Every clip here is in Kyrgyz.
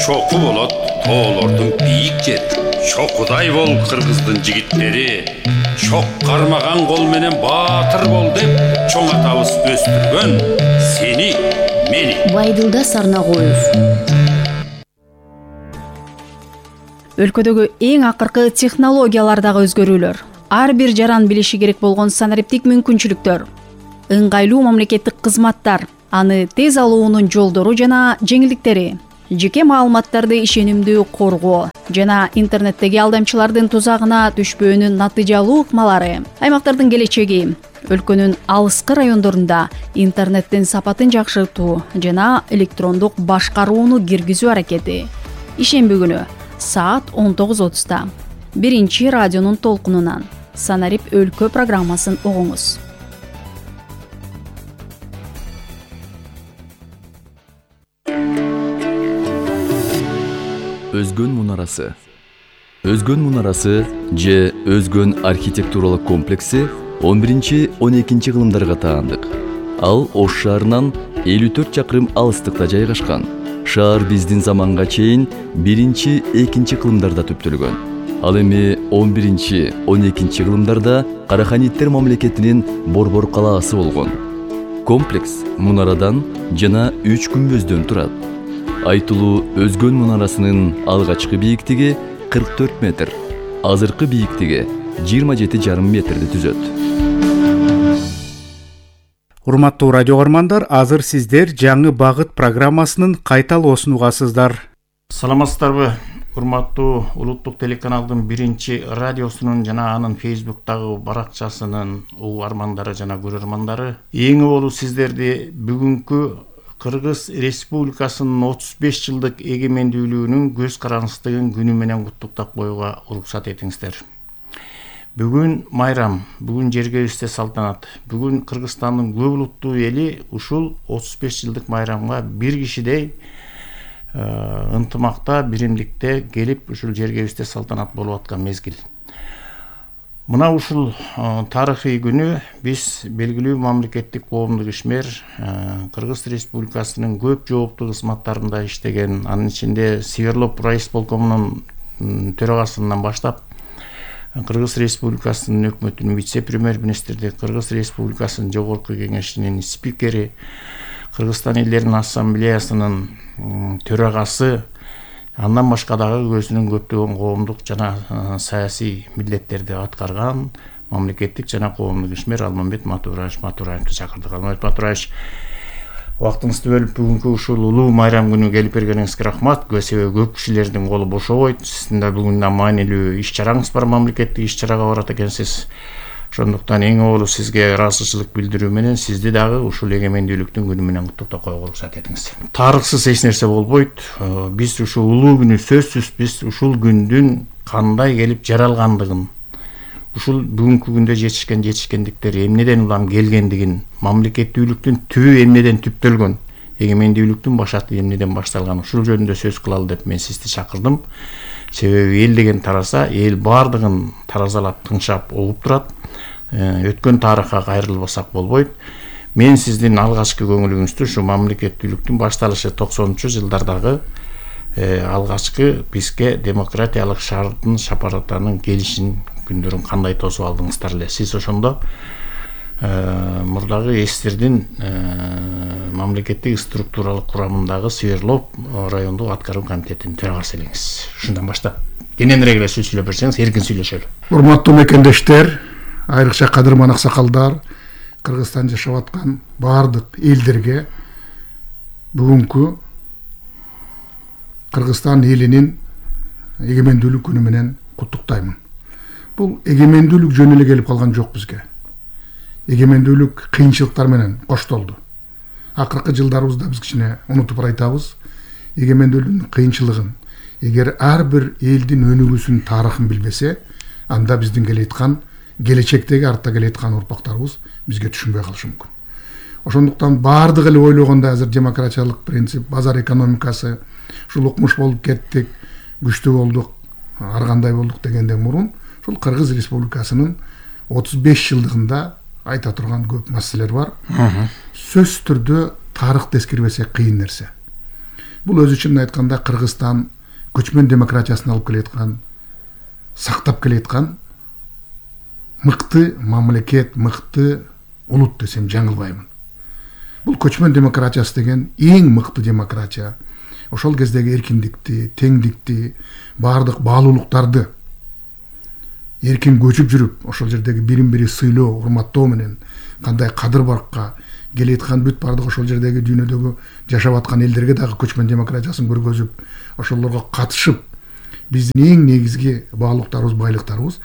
чоку болот тоолордун бийик жери. Чокудай бол кыргыздын жигиттери, чок кармаган кол менен баатыр бол деп чоң атабыз өстүргөн сени, мени. Байдылда Сарнагоев. Өлкөдөгү эң акыркы технологиялардагы өзгөрүүлөр, ар бир жаран билиши керек болгон санариптик мүмкүнчүлүктөр, ыңгайлуу мамлекеттик кызматтар, аны тез алуунун жолдору жана жеңилдиктери, жеке маалыматтарды ишенимдүү коргоо жана интернеттеги алдамчылардын тузагына түшпөөнүн натыйжалуу ыкмалары, аймактардын келечеги, өлкөнүн алыскы райондорунда интернеттин сапатын жакшыртуу жана электрондук башкарууну киргизүү аракети. Ишемби күнү саат 19:30 биринчи радионун толкунунан Санарип өлкө программасын угуңуз. Өзгөн мунарасы. Өзгөн мунарасы же Өзгөн архитектуралык комплекси 11-12 кылымдарга таандык. Ал Ош шаарынан 54 чакырым алыстыкта жайгашкан. Шаар биздин заманга чейин 1-2 кылымдарда түптөлгөн. Ал эми 11-12 кылымдарда Караханиттер мамлекетинин Борбор калаасы болгон. Комплекс мунарадан жана 3 күмбөздөн турат. Айтылуу Өзгөн мунарасынын алгачкы бийиктиги 44 метр, азыркы бийиктиги 27,5 метрди түзөт. Урматтуу радио көрөрмандар, азыр сиздер жаңы багыт программасынын кайталоосун угасыздар. Саламатсыздарбы? Урматтуу улуттук телеканалдын биринчи радиосунун жана анын Facebook'тагы баракчасынын угармандары жана көрөрмандары, эң болуу сиздерди бүгүнкү Кыргыз Республикасынын 35 жылдык эгемендүүлүгүнүн көз карандысыздыгын күнү менен куттуктап коюуга уруксат этиңиздер. Бүгүн майрам, бүгүн жергебизде салтанат. Бүгүн Кыргызстандын көп улуттуу эли ушул 35 жылдык майрамга бир кишидей ынтымакта, биримдикте келип ушул жергебизде салтанат болуп аткан мезгил. Мына ушул тарыхый күнү биз белгилүү мамлекеттик коомдук ишмер, Кыргыз Республикасынын көп жооптуу кызматтарында иштеген, анын ичинде Северлоп райисполкомунун төрагасынан баштап Кыргыз Республикасынын өкмөтүнүн вице-премьер-министри, Кыргыз Республикасынын жогорку кеңешинин спикери, Кыргызстан элдеринин ассамблеясынын төрагасы, андан башка дагы өзүнүн көптөгөн коомдук жана саясий милдеттерди аткарган мамлекеттик жана коомдук ишмер Алмамбет Матураевди чакырдык. Алмамбет Матураевич, убактыңызды бөлүп бүгүнкү ушул улуу майрам күнү келип бергениңизге рахмат. Себеби көп кишилердин колу бошобойт. Сиздин да бүгүн маанилүү иш чараңыз бар, мамлекеттик иш чарага барат экенсиз. Ошондуктан эң болуу сизге ыраазычылык билдирүү менен сизди дагы ушул эгемендүүлүктүн күнү менен куттуктап коюуга уруксат этиңиз. Тарыхсыз эч нерсе болбойт. Биз ушул улуу күнү сөзсүз биз ушул күндүн кандай келип жаралгандыгын, ушул бүгүнкү күндө жетишкендиктер эмнеден улам келгендигин, мамлекеттүүлүктүн түбү эмнеден түптөлгөн, эгемендүүлүктүн башаты эмнеден башталган, ушул жөнүндө сөз кылалы деп мен сизди чакырдым. Себеби эл деген тараса, эл баардыгын таразалап, тыңшап, угуп турат. Өткөн тарыхка кайрылбасак болбойт. Мен сиздин алгачкы көңүлүңүздү ушу мамлекеттүүлүктүн башталышы 90-жылдардагы алгачкы бизге демократиялык шаардын шапаратанын келишин күндөрүн кандай тосуп алдыңыздар эле. Сиз ошондо мурдагы эстердин мамлекеттик структуралык курамындагы Северлоп райондук аткаруу комитетинин төрагасы элеңиз. Ушундан баштап кененирээк эле сөз сүйлөп берсеңиз, эркин сүйлөшөлү. Урматтуу мекендештер, айрыкча кадырман аксакалдар, Кыргызстанда жашап аткан баардык элдерге бүгүнкү Кыргызстан элинин эгемендүүлүк күнү менен куттуктаймын. Бул эгемендүүлүк жөн эле келип калган жок бизге. Эгемендүүлүк кыйынчылыктар менен коштолду. Акыркы жылдарыбызда биз кичине унутуп айтабыз, эгемендүүлүктүн кыйынчылыгын. Эгер ар бир элдин өнүгүүсүнүн тарыхын билбесе, анда биздин келечектеги артта келеаткан урпактарыбыз бизге түшүнбөй калышы мүмкүн. Ошондуктан баардык эле ойлогондо азыр демократиялык принцип, базар экономикасы, ушул укмуш болуп кеттик, күчтүү болдук, ар кандай болдук дегенден мурун, ушул Кыргыз Республикасынын 35 жылдыгында айта турган көп маселелер бар. Сөзсүз түрдө тарыхты эскербесек кыйын нерсе. Бул өзү чынын айтканда Кыргызстан көчмөн демократиясын алып келаткан, сактап келаткан мыкты мамлекет, мыкты улут десем жаңылбаймын. Бул көчмөн демократиясы деген эң мыкты демократия. Ошол кездеги эркиндикти, теңдикти, баардык баалуулуктарды эркин көчүп жүрүп, ошол жердеги бирин-бири сыйлоо, урматтоо менен кандай кадыр-баркка келеткан бүт баардык ошол жердеги дүйнөдөгү жашап аткан элдерге дагы көчмөн демократиясын көргөзүп, ошолорго катышып, биздин эң негизги баалуулуктарыбыз, байлыктарыбыз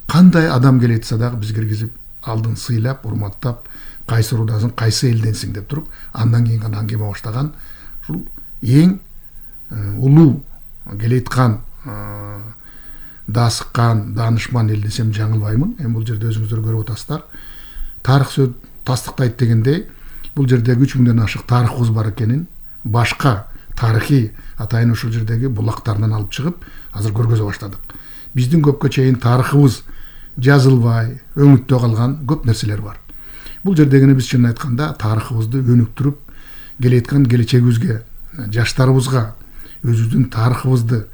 кандай адам келетсе дагы биз киргизип, алдын сыйлап, урматтап, кайсы урудасың, кайсы элденсиң деп туруп, андан кийин гана аңгеме баштаган ушул эң улуу келеткан даасыккан, даанышман эл десем жаңылбаймын. Эми бул жерде өзүңүздөр көрүп атасыздар. Тарых сөз тастыктайт дегендей, бул жерде 3000 мыңдан ашык тарыхыбыз бар экенин, башка тарыхый атайын ушул жердеги булактарынан алып чыгып, азыр көргөзө баштадык. Биздин көпкө чейин тарыхыбыз жазылбай, өңүттө калган көп нерселер бар. Бул жердегини биз чынын айтканда тарыхыбызды өнүктүрүп, келеткан келечегибизге, жаштарыбызга өзүбүздүн тарыхыбызды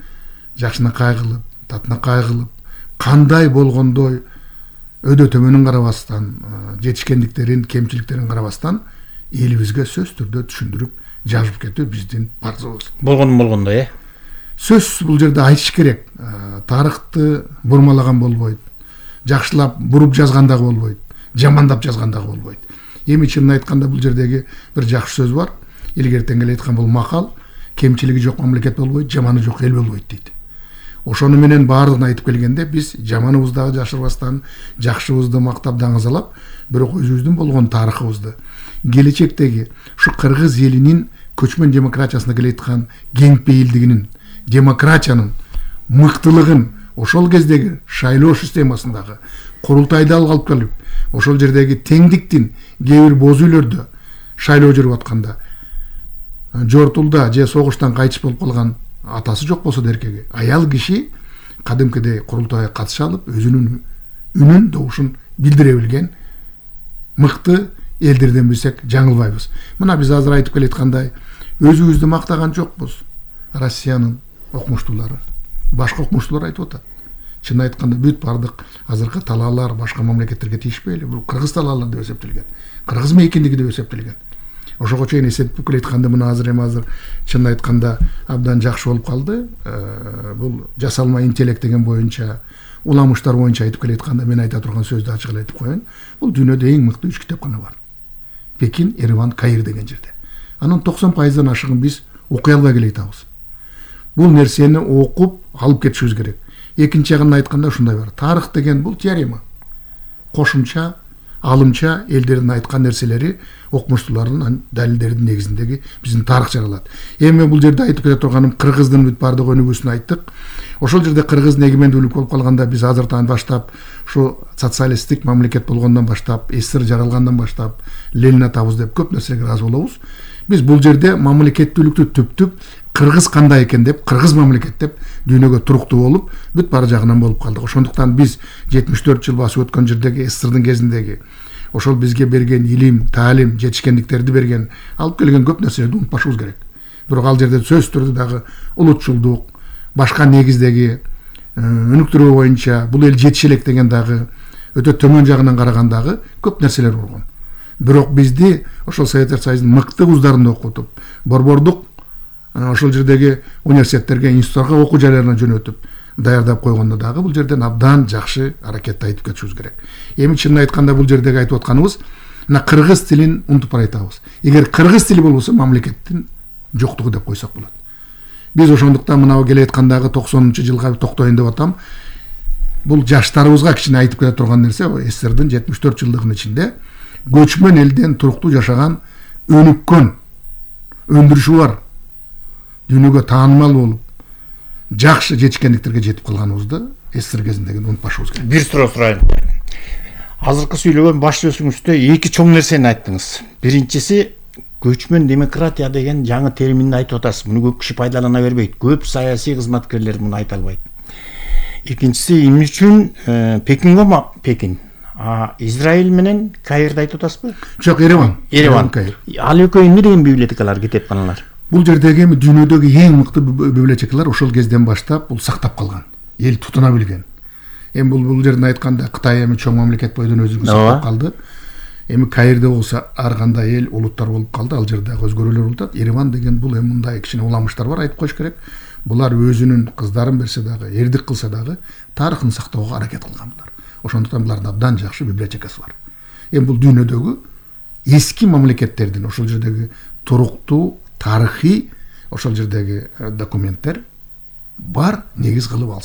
жакшынакай кылып, татынакай кылып, кандай болгондой өдө төмөнүн карабастан, жетишкендиктерин, кемчиликтерин карабастан элибизге сөз түрдө түшүндүрүп, жазып кетүү биздин парзыбыз. Болгондой, Сөз бул жерде айтыш керек. Тарыхты бурмалаган болбойт. Жакшылап буруп жазган дагы болбойт. Жамандап жазган дагы болбойт. Эми чынын айтканда бул жердеги бир жакшы сөз бар. Илгертен эле айткан бул макал, кемчилиги жок мамлекет болбойт, жаманы жок эл болбойт дейт. Ошону менен баардыгын айтып келгенде биз жаманыбызды дагы жашырбастан, жакшыбызды мактап даңызалап, бирок өзүбүздүн болгон тарыхыбызды, келечектеги ушу кыргыз элинин көчмөн демократиясына келеткан кеңпейилдигинин, демократиянын мыктылыгын, ошол кездеги шайлоо системасындагы курултайда алып келип, ошол жердеги теңдиктин кээ бир боз үйлөрдө шайлоо жүрүп атканда жортулда же согуштан кайтыш болуп калган атасы жок болсо эркеги, аял киши кадимкидей курултайга катыша алып, өзүнүн үнүн, добушун билдире билген мыкты элдерден билсек жаңылбайбыз. Мына биз азыр айтып келаткандай, өзүбүздү мактаган жокпуз. Россиянын окумуштуулары, башка окумуштуулар айтып атат. Чын айтканда бүт бардык азыркы талаалар башка мамлекеттерге тийишпейли, бул кыргыз талаалар деп эсептелген. Кыргыз мейкиндиги деп эсептелген. Ошого чейин эсептеп келатканда мына азыр чын айтканда абдан жакшы болуп калды. Бул жасалма интеллект деген боюнча, уламыштар боюнча айтып келатканда мен айта турган сөздү ачык эле айтып коеюн. Бул дүйнөдө эң мыкты 3 китепкана бар. Пекин, Ереван, Каир деген жерде. Анын 90% ашыгын биз окуй албай келатабыз. Бул нерсени окуп алып кетишибиз керек. Экинчи жагын айтканда ушундай бар. Тарых деген бул теорема. Кошумча, алымча элдердин айткан нерселери окумуштуулардын далилдердин негизиндеги биздин тарых жаралат. Эми бул жерде айтып кете турганым кыргыздын бүт бардык өнүгүүсүн айттык. Ошол жерде кыргыздын эгемендүүлүк болуп калганда биз азыртан баштап ушу социалисттик мамлекет болгондон баштап, СССР жаралгандан баштап Ленин атабыз деп көп нерселерге ыраазы болобуз. Биз бул жерде мамлекеттүүлүктү түптүп кыргыз кандай экен деп, кыргыз мамлекет деп дүйнөгө туруктуу болуп, бүт бары жагынан болуп калдык. Ошондуктан биз 74 жыл басып өткөн жердеги СССРдын кезиндеги ошол бизге берген илим, таалим, жетишкендиктерди берген, алып келген көп нерселерди унутпашыбыз керек. Бирок ал жерде сөз түрдө дагы улутчулдук, башка негиздеги өнүктүрүү боюнча бул эл жетише элек деген дагы өтө төмөн жагынан карагандагы көп нерселер болгон. Бирок бизди ошол Советтер Союзунун мыкты вуздарын окутуп, борбордук ошол жердеги университеттерге, институттарга окуу жайларына жөнөтүп даярдап койгондо дагы бул жерден абдан жакшы аракетти айтып кетишибиз керек. Эми чынын айтканда бул жердеги айтып атканыбыз мына кыргыз тилин унутуп баратабыз. Эгер кыргыз тили болбосо мамлекеттин жоктугу деп койсок болот. Биз ошондуктан мына келеаткандагы 90-жылга токтоюн деп атам. Бул жаштарыбызга кичине айтып кете турган нерсе, СССРдин 74 жылдыгынын ичинде көчмөн элден туруктуу жашаган, өнүккөн, өндүрүшү бар, дүйнөгө таанымал болуп, жакшы жетишкендиктерге жетип калганыбызды СССР кезиндегини унутпашыбыз керек. Бир суроо сурайын. Азыркы сүйлөгөн баш сөзүңүздө эки чоң нерсени айттыңыз. Биринчиси көчмөн демократия деген жаңы терминди айтып атасыз. Муну көп киши пайдалана бербейт. Көп саясий кызматкерлер муну айта албайт. Экинчиси эмне үчүн Пекин, Израиль менен Каирди айтып атасызбы? Жок, Ереван. Ереван. Ал экөө эмне деген библиотекалар, китепканалар? бул жердеги эми дүйнөдөгү эң мыкты библиотекалар ошол кезден баштап бул сактап калган, эл тутуна билген. Эми бул жерден айтканда Кытай эми чоң мамлекет бойдон өзүн сактап калды. Эми Каирде болсо ар кандай эл улуттар болуп калды, ал жерде өзгөрүүлөр болуп атат. Ереван деген бул эми мындай кичине уламыштар бар, айтып коюш керек. Булар өзүнүн кыздарын берсе дагы, эрдик кылса дагы тарыхын сактоого аракет кылган булар. Ошондуктан булардын абдан жакшы библиотекасы бар. Эми бул дүйнөдөгү эски мамлекеттердин ошол жердеги туруктуу тарыхый ошол жердеги документтер бар негиз кылып алса